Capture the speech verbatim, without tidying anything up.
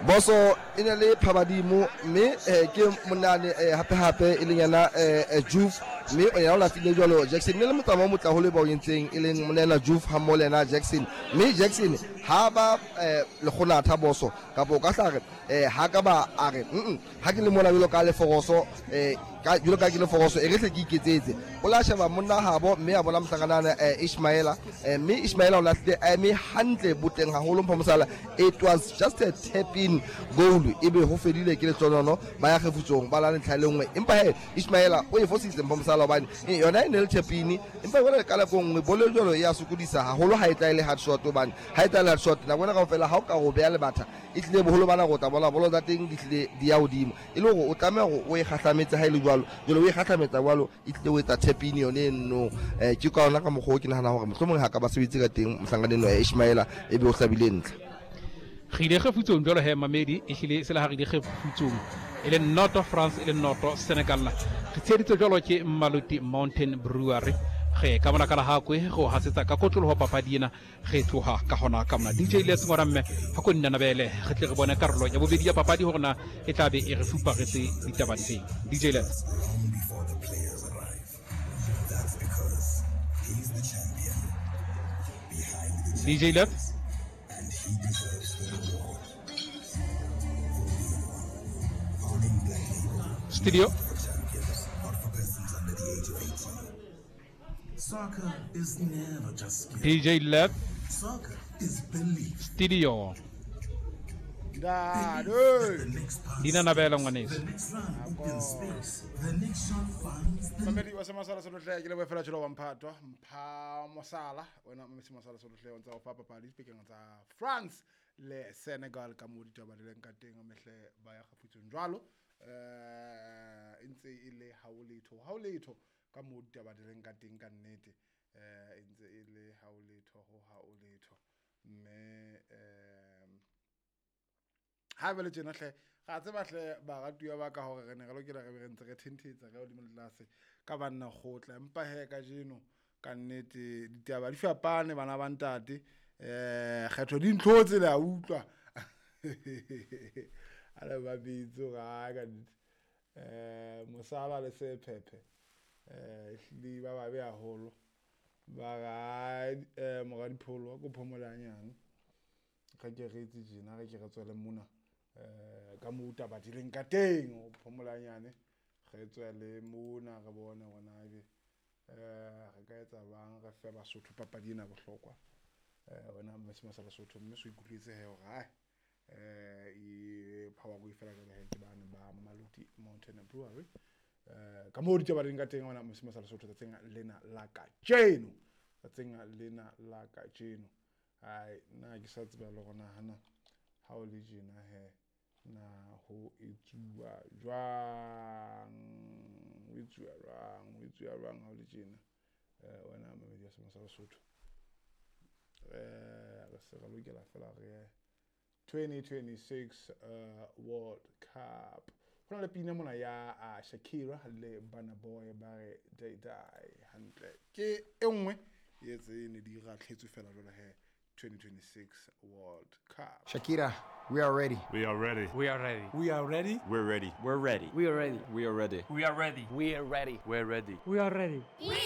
Boso e ne le Phabadimo mme eh, ke monane eh, hape hape e leng yena eh, eh, Juve mme o yena o lahlile jwalo Jackson ne le motsamao o motle haholo ba o entseng e leng monena Juve ha mmoho le yena Jackson mme Jackson ha ba eh, lekgonatha boso kapa o ka hla re eh, ha ka ba a re mm ha ke le mona jwalo ka leforoso eh, ka jwalo ka ke leforoso e re hle ke iketsetse o la sheba monna habo mme a bona mohlakanana eh, Ishmaela eh, mme Ishmaela o lahlile a eme hantle botleng haholo mpho mosala it was just a tap in goal ebe ho fedile ke lehlonono ba ya kgefutsong ba la ntlha e le nngwe empa he Ishmaela o e fositse mpho mosala hobane eh, yona e ne le tap in empa jwale ka nako e nngwe bolo e jwalo e ya sokodisa haholo ha e tla e le hard shot hobane ha e tla e le hard shot nako ena kaofela ha o ka o beha lebatha e tlile boholo ba nako o tla bona bolo tsa teng di tlile di ya hodimo e le hore o tlameha hore o e kgahlametse ha e le jwalo jwale o e kgahlametsa jwalo e tlile o etsa tap in yone e nno um ke ka yona ka mokgwa o ke nahana hore mohlomong ha ka ba sebetse ka teng mohlankaneng ya Ishmaela e be o hlabile ntlha re ile kgefutsong jwalo he mamedi e hlile se le ha re ile kgefutsong e le noto France e le noto Senegal re tsheheditswe jwalo ke Maluti Mountain Brewery re ka mona ka lahakwe go hasetsa ka kotloloho papadi ena re tloha ka hona ka mona D J Les ngwana mme ha ko nnanabele re tle re bone karolo ya bobedi ya papadi hore na e tla be e re fuparetse ditaba difeng. D J Les. D J Les. Studio. Soccer is never just skill. D J Left. Soccer is belief. Studio. Dina Nabela ngwaneso. The next run opens space. The next shot finds the Mamedi wa Semasala Solohle ke le boefela tjelo wa Mphato Mpha Mosala wena Mmesi Mosala Solohle o ntsa o fa papadi dipekeng tsa France le Senegal ka mo ditaba di leng ka teng mehle ba ya kgafutsong jwalo eh e ntse e le ha o letho ha o letho ka mo ditaba di leng ka teng ka nnete eh e ntse e le ha o letho ho ha o letho mme eh ha ba le tjena hle ga tseba hle baratuwa ba ka hore re ne re lokela re be re ntse re thentetsa ka hodimo le tlase ka banna kgotla empa he ka jeno ka nnete ditaba di fapane bana ba ntate eh kgetho di ntlhotse le a utlwa a le ba bitso ga ka nnete eh mosala le sephephe eh hlile ba babe haholo ba ga eh moradipholo ko phomolanyane re ke re itse tjena re ke re tswele mona eh ka mo taba di leng ka teng o phomolanyane re tswele mona re bone hore ebe eh re ka etsa bang re fe Basotho papadi ena bohlokwa eh wena Mmesi Mosala Sotho mme so ikutlwetse he hore hai eh e power go ifela ka he ke bana ba Maluti Mountain Brewery eh ka mo ditaba di leng ka teng wena Mmesi Mosala Sotho tsatsing lena la kajeno tsatsing lena la kajeno ai nna ke sa tseba le gona hana ha o le tjena he na ho etsuwa jwang ho etsuwa jwang ho etsuwa jwang ha o le tjena eh wena Mamedi ya Semasala Sotho eh re se re lokela fela re twenty twenty-six uh World Cup ho na le pina mona ya uh, Shakira le Burna Boy ba re they die hantle ke e nngwe e tse ne di ratlhetswe fela jwale he twenty twenty-six World Cup. Shakira, we are ready. We are ready. We are ready. We are ready. We're ready. We're ready. We are ready. We are ready. We are ready. We are ready. We're ready. We are ready. We